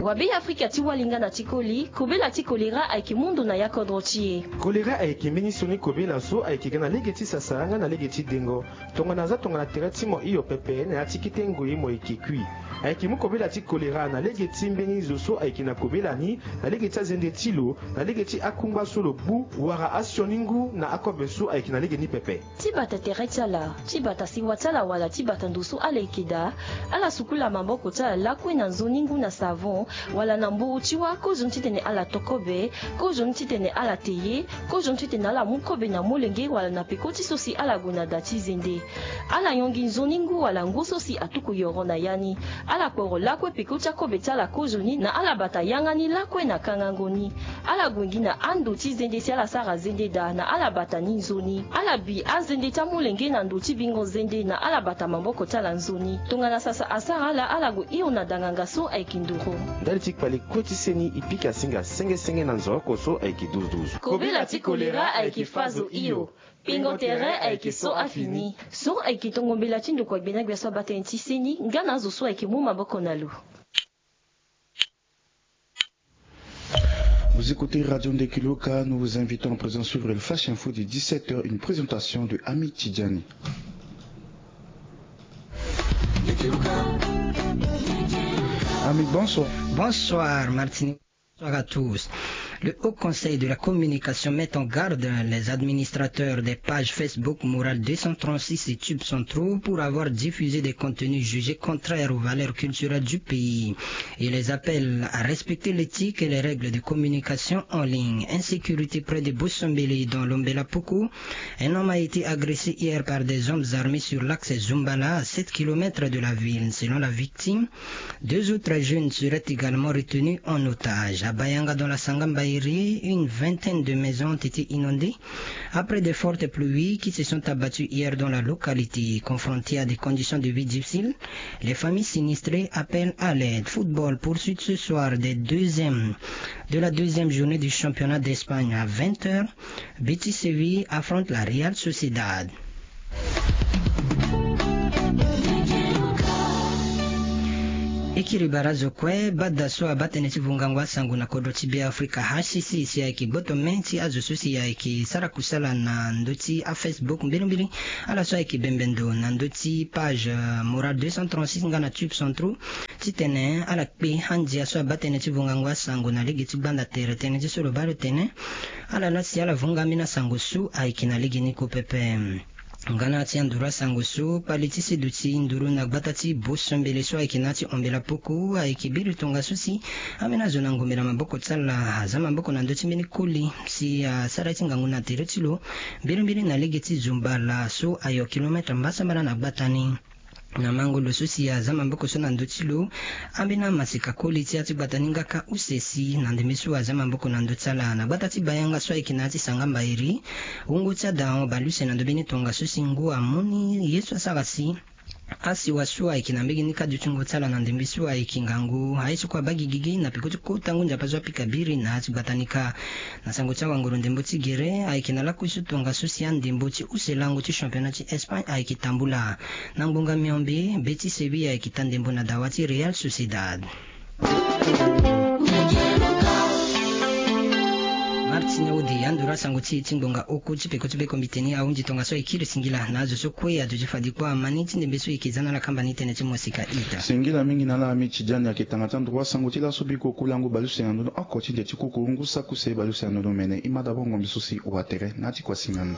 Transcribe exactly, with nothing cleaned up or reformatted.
Wa be afrika ti walinga na ti koli kobela ti kolera ayeke mundu na ya kodro ti e. Kolera ayeke mbeni sioni kobela so ayeke ga na lege ti sasa nga na lege ti dengo. Tongana aza tongana tere ti mo hio pepe na ya ti kete ngoi mo yeke kui. Ayeke mu kobela ti kolera na lege ti mbeni zo so ayeke na kobela ni, na lege ti azende ti lo, na lege ti akungba so lo gbu, wala asioni ngu na akobe so ayeke na lege ni pepe. Ti bata tere ti ala, ti bata sewa ti ala wala ti bata ndo so ala yeke daa, ala sukula maboko ti ala lakue na nzoni ngu na savon, wala na mburu ti wâ kozoni titene ala to kobe, kozoni titene ala te ye, kozoni titene ala mu kobe na molenge wala na peko ti so si ala gue na da ti zende. Ala yongi nzoni ngu wala ngu so si atuku yoro na ya ni. Ala kporo lakue peko ti akobe ti ala kozoni na ala bata yanga ni lakue na kangango ni. Ala gue gi na ando ti zende si ala sara zende daa na ala bata ni nzoni. Ala bi azende ti amolenge na ndo ti bingo zende na ala bata maboko ti ala nzoni. Tongana sasa asara ala, ala gue hio na danganga so ayeke nduru. Ndali ti kpale kue ti seni e pika singa senge senge na nzoroko so ayeke duzu duzu. Kobela ti kolera ayeke fa zo hio. Pingo tere ayeke so afini. So ayeke tongo mbela ti ndokua gbena gbia so aba tënë ti seni nga na azo so ayeke mu maboko na lo. Vous écoutez Radio Ndekiloka, nous vous invitons à présent sur le Flash Info de dix-sept heures, une présentation de Ami Tidjani. Ami, bonsoir. Bonsoir, Martinique. Bonsoir à tous. Le Haut Conseil de la Communication met en garde les administrateurs des pages Facebook Moral deux cent trente-six et Tube Centraux pour avoir diffusé des contenus jugés contraires aux valeurs culturelles du pays. Il les appelle à respecter l'éthique et les règles de communication en ligne. Insécurité près de Bosombele dans l'Ombela Poko. Un homme a été agressé hier par des hommes armés sur l'axe Zumbala, à sept kilomètres de la ville. Selon la victime, deux autres jeunes seraient également retenus en otage. À Bayanga, dans la Sangamba Iri, une vingtaine de maisons ont été inondées après de fortes pluies qui se sont abattues hier dans la localité. Confrontées à des conditions de vie difficiles, les familles sinistrées appellent à l'aide. Football, poursuite ce soir des deuxièmes, de la deuxième journée du championnat d'Espagne à vingt heures. Betis Séville affronte la Real Sociedad. E kiri bara azo kue, bada so abaa tënë ti vungango asango na kodro ti Beafrika, H C C, si ayeke gboto me ti azo so si ayeke sara kusala na ndö ti aFacebook mbilimbili. Ala so ayeke bembe ndo na ndö ti page, euh, Moral deux cent trente-six nga na Tube Centraux, titene ala kpe andia so abaa tënë ti vungango asango na lege ti gbanda tere. Tënë ti so lo baa lo tene, ala laa si ala vunga ambeni asango so ayeke na lege ni kue pepe. Nga na ya ti anduru asango so, kpale ti seduti nduru na gbata ti Bosombele so ayeke na ya ti Ombela Poko ayeke biri tongana so si ambeni azo na ngombela maboko ti ala aza maboko na ndö ti mbeni koli si asara ye ti ngangu na tere ti lo, mbilimbili na lege ti Zumbala so ayo kilometre mbasambala na gbata ni. Na mango lo so si aza maboko so na ndö ti lo, ambeni amasika koli ti ya ti gbata ni nga kâ use si na ndembe so aza maboko na ndö ti ala. Na gbata ti Bayanga so ayeke na ya ti Sangamba Iri, wungo ti ada ahon bale use na ndö mbeni tongaso si ngu amu ni ye so asara si asiwa so ayeke na mbege ni kâ dutingo ti ala na ndembe so ayeke ngangu aye so kue abaa gigigi na peko ti kota ngu nzapa so apika biri na ya ti gbata ni kâ. Na sango ti awanguru ndembo ti gere ayeke na lakui so tongaso si andembo ti use lango ti championnat ti Espagne ayeke tambula. Na ngbonga miombe, Betis Séville ayeke ta ndembo na dawa ti Real Sociedad. Martin Audi, anduru asango ti e ti ngbonga oko ti peko ti be kombite ni ahunzi tongaso e kiri singila na azo so kue aduti fadi kpo amani ti ndembe so e yeke za na ala kamba ni tënë ti mosika ita. Singila mingi na ala ami Tidiane ayeke tanga ti anduru asango ti laso biko kulango bale use na ndö ni oko ti nze ti kuku ngu saki use bale use na ndö ni omene e ma dabord ngombe so si wa tere na ya ti kua singa ni.